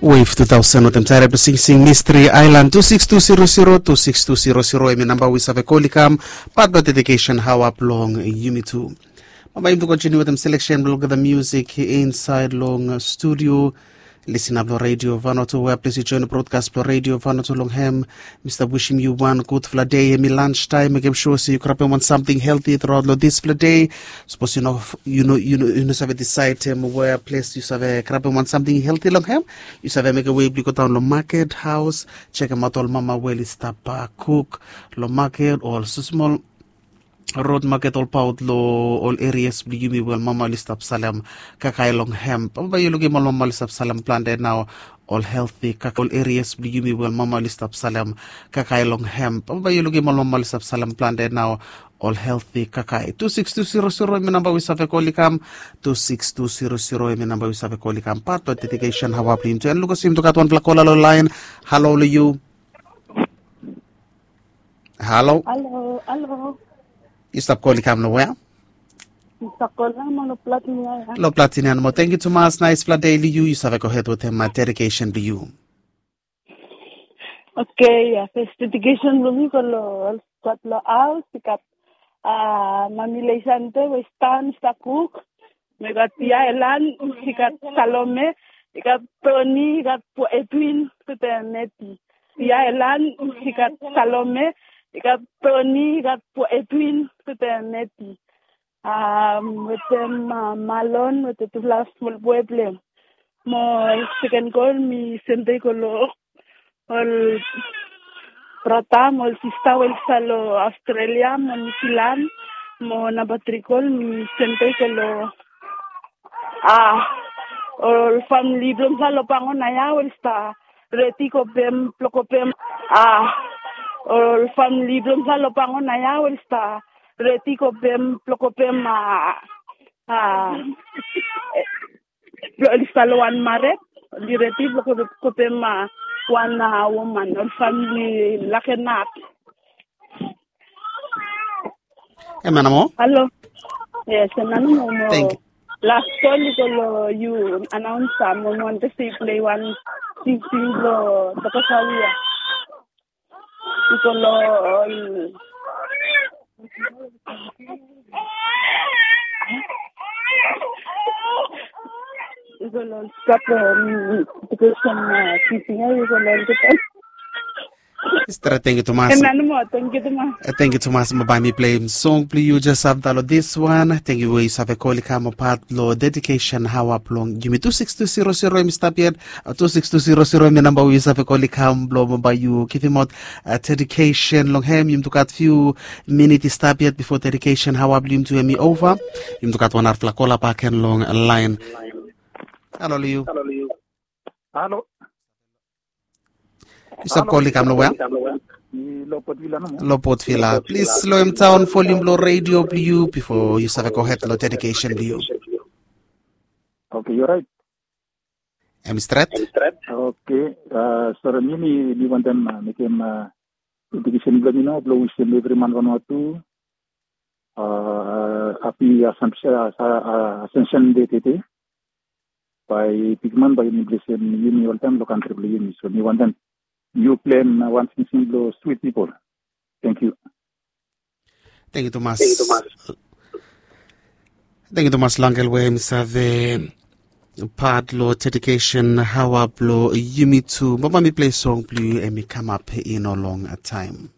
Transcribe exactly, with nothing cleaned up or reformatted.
Wave two thousand wetem Tairep Singsing Mystery Island two six two zero zero two six two zero zero, hemi namba we yu save kol i kam. Pat long dedication hawa blong yumi tu. Bambae yumi tu kontiniu wetem selection blong olgeta music insaed long studio. Lisin blong Radio Vanuatu, wea ples yu join brodkas blong Radio Vanuatu long hem. Mi stap wishim yu wan gudfala dei. Hemi lunch taem, mekem sua se yu grabem wan samting helti truaot long disfala dei. Sapos yu no, yu no, yu no, yu no save disaed hem wea ples yu save grabem wan samting helti long hem, yu save mekem we blong yu go daon long maket haos, jekemaot ol mama we oli stap kuk long maket o ol smosmol rod maket olbaot long ol erias blong yumi we ol mama oli stap salem kakae long hem. Bambae yu lukim ol mama oli stap salem plante nao ol helti kakae, ol erias blong yumi we ol mama oli stap salem kakae long hem. Bambae yu lukim ol mama oli stap salem plante nao ol helti kakae. Tu siks tu zero zero hemi namba we yu save kol i kam. Tu siks tu zero zero hemi namba we yu save kol i kam pat long dedication hawa blong yumi tu. An lukasim tu gat wanfala kola long laen. Halo long yu. Halo. Halo, halo. Yu stap kol i kam long wea? Yu stap kol i kam long Platini ia. Long Platini ia nomo. Tangkiu tumas, naesfala dei long yu. Yu save gohed wetem dedication blong yu. Okei, ia, fes dedication blong mi go long ol stat long haos, i gat, a, mami Leisante we i stap, i stap kuk. Mi gat ia Elan, i gat Salome, i gat Toni, i gat Edwin wetem Meti. Ia Elan, i gat Salome, i gat Toni, i gat Edwin wetem Meti. A, wetem, a, Malon wetem tufala smol boe blong hem. Mo seken kol mi sende i go long ol brata mo ol sista we oli stap long Australia mo New Zealand. Mo namba tri kol mi sende i go long, a, ol famili blong mifala long Pangona ia we oli stap redi kopem blong kopem, a, ol famili blong mifala long Pangona ia we oli stap redi kopem blong kopem, a, a, blong oli stap long wan mared, oli redi blong kopem, a, wan, a, woman, ol famili Lakenap. Hemia nomo. Halo. Yes, hemia nomo. Las kol i go long yu, anaonsa, mo mi wantem se yu plei wan singsing blong Tokosawia. I go long ol, i go long ol stap long, um, edukesen, a, tising ia, i go long olgeta. Stret, tangkiu tumas. Hemia nomo, tangkiu tumas. E, tangkiu tumas, mo bae mi pleim song blong yu jes afta long diswan. Tangkiu we yu save kol i kam pat long dedication hawa blong yumi. Tu siks tu zero zero hemi stap yet. A, tu siks tu zero zero hemi namba we yu save kol i kam blong bambae yu givimaot, a, dedication long hem. Yumi tu gat fiu minit i stap yet bifo dedication hawa blong yumi tu hemi ova. Yumi tu gat wan narafala kola bakegen long laen. Halo long yu. Halo. Yu stap kol i kam long wea? Long Port Vila nomo. Long Port Vila. Plis loem daon volium blong redio blong yu bifo yu save gohed long dedication blong yu. Okei, yu orait? Hemi stret. Okei, a, sore, mi, mi, mi wantem, a, mekem, a, dedikesen blong mi nao blong wisem evri man Vanuatu, a, hapi Assumption, a, a, Ascension Day tede. Bae bigman bae yumi blesem yumi oltaem long kantri blong yumi. So mi wantem yu pleim wan singsing blong Sweet People. Tangkiu. Tangkiu tumas. Tangkiu tumas long ol we hemi save pat long dedication hawa blong yumi tu. Bambae mi plei song blong yu hemi kamap i no long taem.